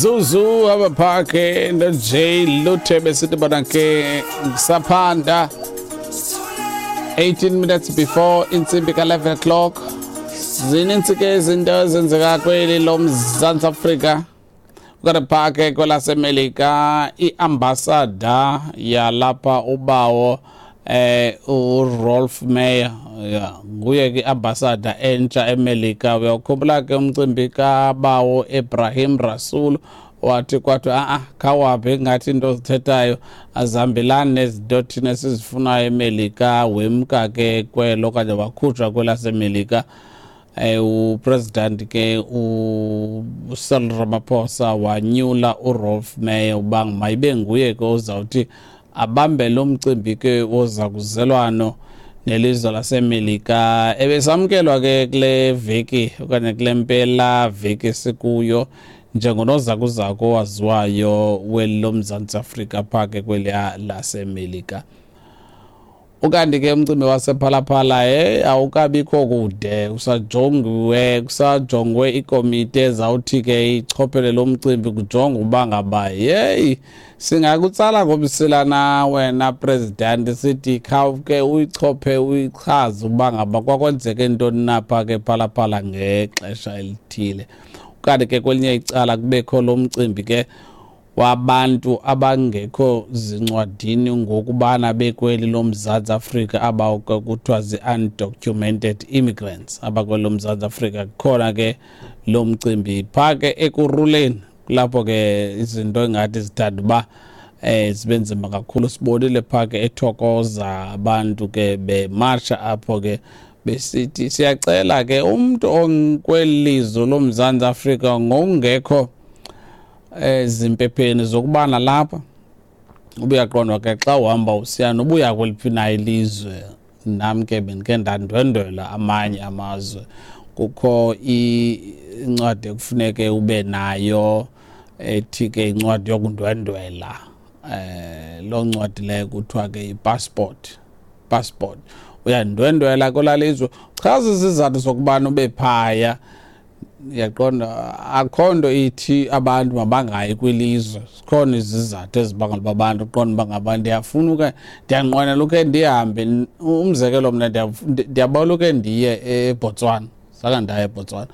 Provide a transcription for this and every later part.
Zuzu abaphake noJ Luthe besithi bona ke ngisaphanda 18 minutes before intsimbi ka-11 o'clock. Zininzi ke izinto ezenzeka kweli loMzantsi Afrika. Ukanti phaa ke kwelaseMelika iambasada yalapha ubawo uRolf Meyer, ya nguye ke iambasada entsha eMelika. Uyawukhumbula ke umcimbi kabawo Ibrahim Rasool, wathi kwathiwa a-a khawaphi ingathi into ozithethayo azihambelani nezinto thina esizifunayo eMelika. Wemka ke kwelo okanye wakhutshwa kwelaseMelika. Upresident ke uCyril Ramaphosa wanyula uRolf Meyer uba mayibe nguye ke ozawuthi abambe lo mcimbi ke woza kuzelwano nelizwe laseMelika. Ebesamkelwa ke kule veki okanye kule mpela veki sikuyo njengonozakuzaku owaziwayo weli loMzantsi Afrika phaa ke kweliya laseMelika. Ukanti ke umcimbi wasePhalaphala awukabikho kude, kusajongiwe, kusajongwe ikomiti ezawuthi ke ichophele lo mcimbi, kujongwe uba ngaba yeyi singakutsala ngomsila na wena president, sithi khawuke uyichophe uyichaze uba ngaba kwakwenzeke ntoni napha ke Phalaphala ngexesha elithile. Ukanti ke kwelinye icala kubekho lo mcimbi ke wabantu abangekho zincwadini ngokubana bekweli loMzantsi Afrika, aba kuthiwa zii-undocumented immigrants abakweli loMzantsi Afrika. Kukhona ke lo mcimbi phaa ke Ekurhuleni, kulapho ke izinto engathi zithanda uba zibe nzima kakhulu. Sibonile phaa ke eThokoza abantu ke bemarsha apho ke besithi siyacela ke umntu okweli lizwe loMzantsi Afrika ngokungekho ezimpepheni zokubana lapha ubuyaqondwa ke xa uhamba usiya nobuya kweliphi na ilizwe. Nam ke bendike ndandwendwela amanye amazwe, kukho incwadi ekufuneke ube nayo ethi ke incwadi yokundwendwela. Loo ncwadi leyo kuthiwa ke i-passport. Passport, uyandwendwela kwelaa lizwe, chaza izizathu zokubana ube phaya. Uyaqonda, akho nto ithi abantu mabangayi kwilizwe, zikhona izizathu ezibangela uba abantu uqonda uba ngaba ndiyafuna uke, ndiyanqwenela uke ndihambe. Umzekelo, mna ndiyabawela uke ndiye eBotswana, zange ndaya eBotswana,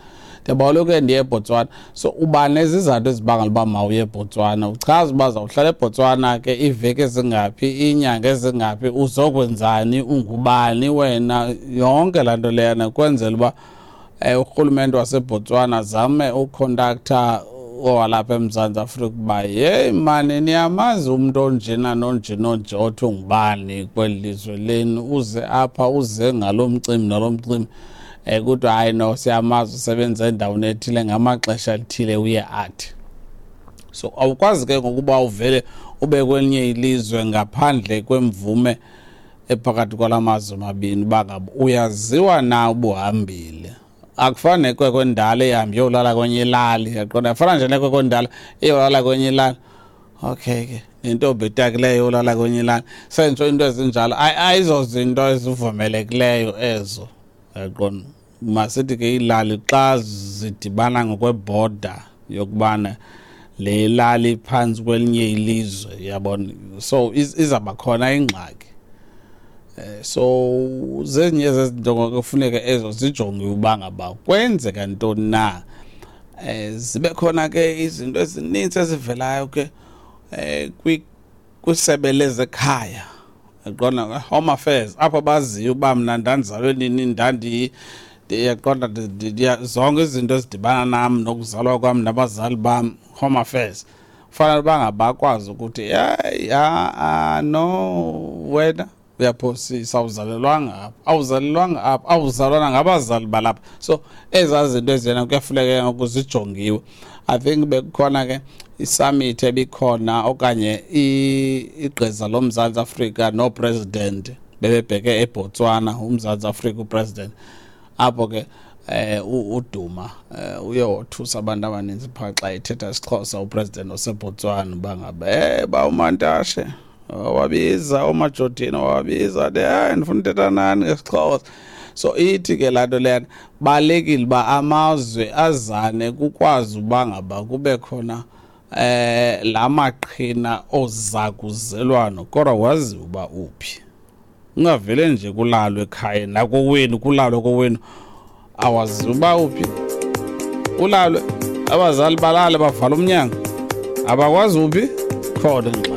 ndiyabawela uke ndiye eBotswana. So uba nezizathu ezibangela uba mawuye eBotswana, uchaza uba zawuhlala eBotswana ke iiveki ezingaphi, iinyanga ezingaphi, uzokwenzani, ungubani wena, yonke laa nto leyana kwenzela uba urhulumente waseBotswana zame ukhontaktha owalapha eMzantsi Afrika uba yeyi mani niyamazi umntu onjena nonje nonje othi ungubani kweli lizwe lenu, uze apha uze ngalo mcimbi nalo mcimbi. Kuthiwa hayi no, siyamazi, usebenza endaweni ethile ngamaxesha athile uye athi. So awukwazi ke ngokuba uvele ube kwelinye ilizwe ngaphandle kwemvume ephakathi kwala mazwe mabini uba ngaba uyaziwa na ubuhambile. Akufani nekwekwe endala ehambe iyolala kwenye ilali, yaqonda, afana nje nekwekwe endala iyolala kwenye ilali. Okay ke nentombi etakileyo yolala kwenye ilali, sentsho into ezinjalo ayizozinto ezivumelekileyo ezo, yaqonda. Masithi ke iilali xa zidibana ngokwebhoda yokubana le lali phantsi kwelinye ilizwe, yabona, so izawuba khona ingxaki. So zezinye zezinto kufuneka ezo zijongiwe uba ngaba kwenzeka ntoni na. Zibe khona ke izinto ezininzi ezivelayo ke kwisebe lezekhaya, yaqonda, Home Affairs, apho baziyo uba mna ndandizalwe nini, ndiyaqonda, zonke izinto ezidibana nam nokuzalwa kwam nabazali bam. Home Affairs kufanele uba ngabakwazi ukuthi hayi, a no, wena uyaphosisa, awuzalelwanga apha, awuzalelwanga apha, awuzalwana ngabazali balapha. So ezaa zinto eziyena kuyafuneka ngoku zijongiwe. I think bekukhona ke isummit ebikhona okanye igqiza loMzantsi Afrika nopresident bebebheke eBotswana, uMzantsi Afrika upresident apho ke uDuma uye wothusa abantu abaninzi phaa xa ethetha isiXhosa upresident waseBotswana uba ngaba bawumantashe wabiza uMajodina, wabiza de hayi ndifuna uthetha nani ngesiXhosa. So ithi ke laa nto leyana, balulekile uba amazwe azane kukwazi uba ngaba kube khona la maqhina ozakuzelwano, kodwa wazi uba uphi. Ungavele nje kulalwe ekhaya nakowenu, kulalwe kowenu, awazi uba uphi. Ulalwe, abazali balale, bavala umnyango, abakwazi uphi, khona ingxaki.